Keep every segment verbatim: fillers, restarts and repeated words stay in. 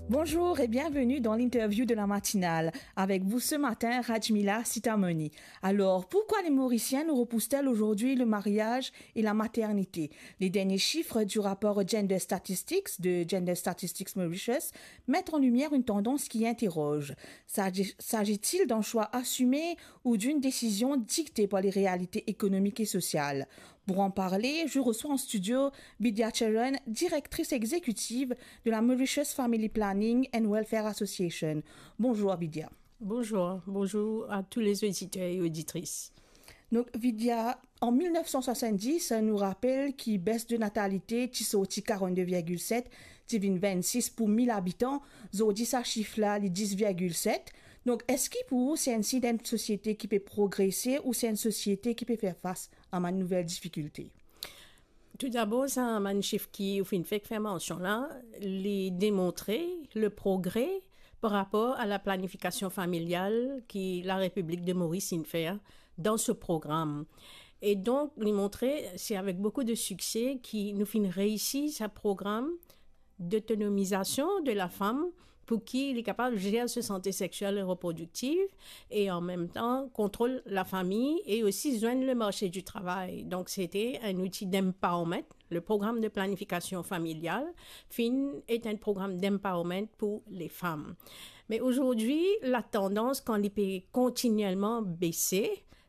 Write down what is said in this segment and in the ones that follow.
Bonjour et bienvenue dans l'interview de la matinale. Avec vous ce matin, Rajmila Sitamoni. Alors, pourquoi les Mauriciennes repoussent-elles aujourd'hui le mariage et la maternité ? Les derniers chiffres du rapport Gender Statistics de Gender Statistics Mauritius mettent en lumière une tendance qui interroge. S'agit-il d'un choix assumé ou d'une décision dictée par les réalités économiques et sociales ? Pour en parler, je reçois en studio Bidya Charan, directrice exécutive de la Mauritius Family Planning and Welfare Association. Bonjour Bidya. Bonjour, bonjour à tous les auditeurs et auditrices. Donc Bidya, en mil nef san swasann-dis, nou rapel ki bes de natalite ti sorti karannde virgil set, ti vinn vennsis pou mil abitan. Zordi sa sif la li dis virgil set. Donk eski pou ou se enn sign enn sosiete ki pe progrese ou se enn sosiete ki pe fer fas a bann nouvel difikilte? Toudabor, sa bann sif ki ou finn fek fer mansion la, li demontre le progre par rapor a la planifikasion familial ki la Repiblik de Moris inn fer dan so program. E donk, li montre, se avek boukou de sikse ki nou finn reisi sa program dotonomizasion de la fam pou ki li kapav zer so sante sexiel e reprodiktiv e an mem tan kontrol lafami e osi zwenn le marse di travay. Donk, se te enn outi d'empowerment. Le program de planifikasion familial finn et enn program d'empowerment pou lefam. Me azordi, la tandans, kan li pe kontinielman bese,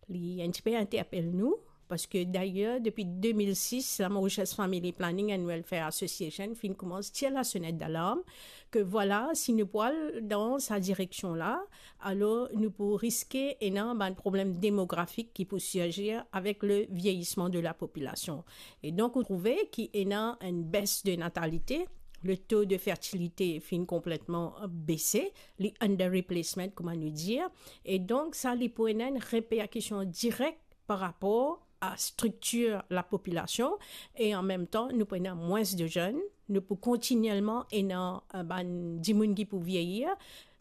li enn tipe interpel nou, parski dayer, depi de mil sis, la Mauritius Family Planning and Welfare Association finn koumans tir lasonet dalarm ke vwala, si nou pou al dan sa direksion la, alor nou pou riske ena bann problem demografik ki pou sirzir avek le vieyisman de la popilasion. E donk, ou trouve ki ena enn bes de natalite, le to de fertilite finn konpletman bese, li under replacement, kouma nou dir. E donk, sa, li pou ena enn reperkision direk par rapor a striktir lapopilasion, e an mem tan, nou pou ena mwins de zenn, nou pou kontinielman ena, eh, bann dimoun ki pou vieyir.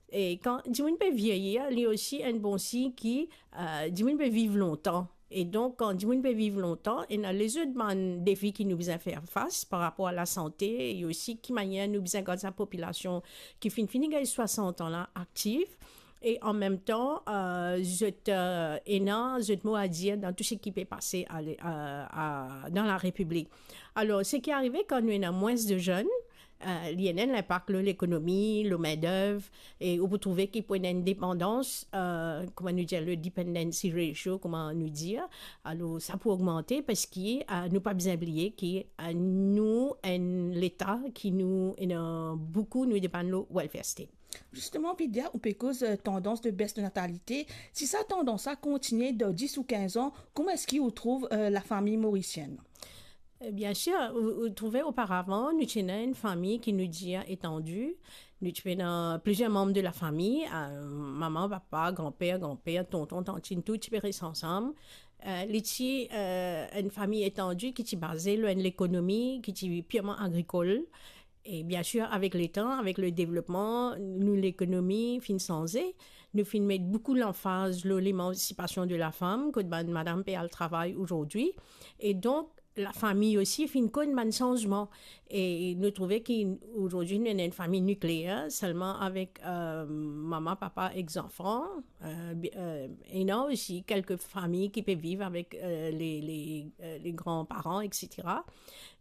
E kan dimoun pe vieyir, li osi enn bon sign ki, eh, dimoun pe viv lontan. E donk, kan dimoun pe viv lontan, ena lezot bann defi ki nou bizin fer fas par rapor a lasante, e osi ki manier nou bizin gard sa popilasion ki finn fini gagn swasant an la aktiv, e an mem tan, eh, zot, eh, ena zot mo a dir dan tou seki pe pase a le-, a, a, dan la Repiblik. Alor, seki arive kan nou ena mwins de zenn, eh, li ena enn linpak lor lekonomi, lor mindev, e ou pou trouve ki pou ena enn depandans, eh, kouma nou dir, le dependency ratio, kouma nou dir. Alor, sa pou ogmante parski, eh, nou pa bizin bliye ki, eh, nou enn leta ki nou ena boukou, nou depann lor welfare state. Zisteman, Bidya, ou pe koz, eh, tandans de bes de natalite. Si sa tandans la kontinie dan dis ou kinz an, kouma eski ou trouv, eh, lafami morisienn? Eh, biensir, ou, ou trouve oparavan, nou ti ena enn fami ki nou dir etandi. Nou ti ena plizier manm de lafami, eh, mama, papa, granper, granper, tonton, tantin, tou ti pe res ansam. Eh, li ti, eh, enn fami etandi ki ti baze lor enn lekonomi ki ti pirman agrikol. E biensir, avek letan, avek le devlopman, nou lekonomi finn sanze. Nou finn met boukou lanfaz lor lemansipasion de lafam, kot bann madam pe al travay azordi. E donk, lafami osi finn konn bann sanzman. E nou trouve ki azordi nou ena enn fami nikleer, selman avek, eh, mama, papa ek zanfan. Eh, bi-, eh, ena osi kelke fami ki pe viv avek, eh, le, le, eh, le granparan, etsetera.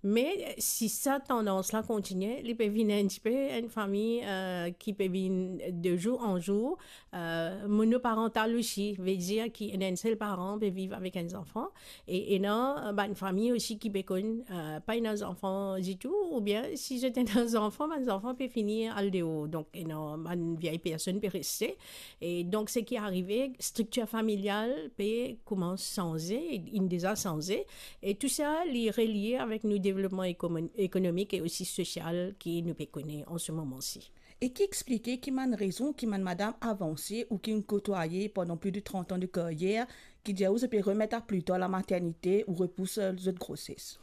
Me, eh, si sa tandans la kontinie, li pe vinn enn tipe enn fami, eh, ki pe vinn de zour an zour, eh, monoparantal osi, vedir ki ena enn sel paran pe viv avek enn zanfan, e ena, eh, bann fami osi ki pe konn, eh, pa ena zanfan ditou, oubien si zot ena zanfan, bann zanfan pe fini al deor. Donk, ena bann viey personn pe reste. E donk, seki arive, striktir familial pe koumans sanze, inn deza sanze, e tou sa, li relie avek nou devlopman ekomo-, ekonomik e osi sosial ki nou pe kone an se moman si. E ki explike ki bann rezon ki bann madam avanse ou ki inn kotwaye pandan pli de trant an de karyer, ki dir ou zot pe remet a pli tar lamaternite ou repous zot groses?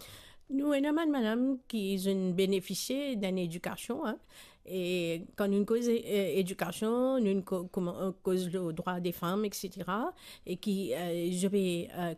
Nou ena bann madam ki zot inn benefisie dan ledikasion, hein. E kan nou koz, eh, edikasion, nou ko-, kouma, eh, koz le drwa de fam, etsetera. E ki, eh, zot pe, eh,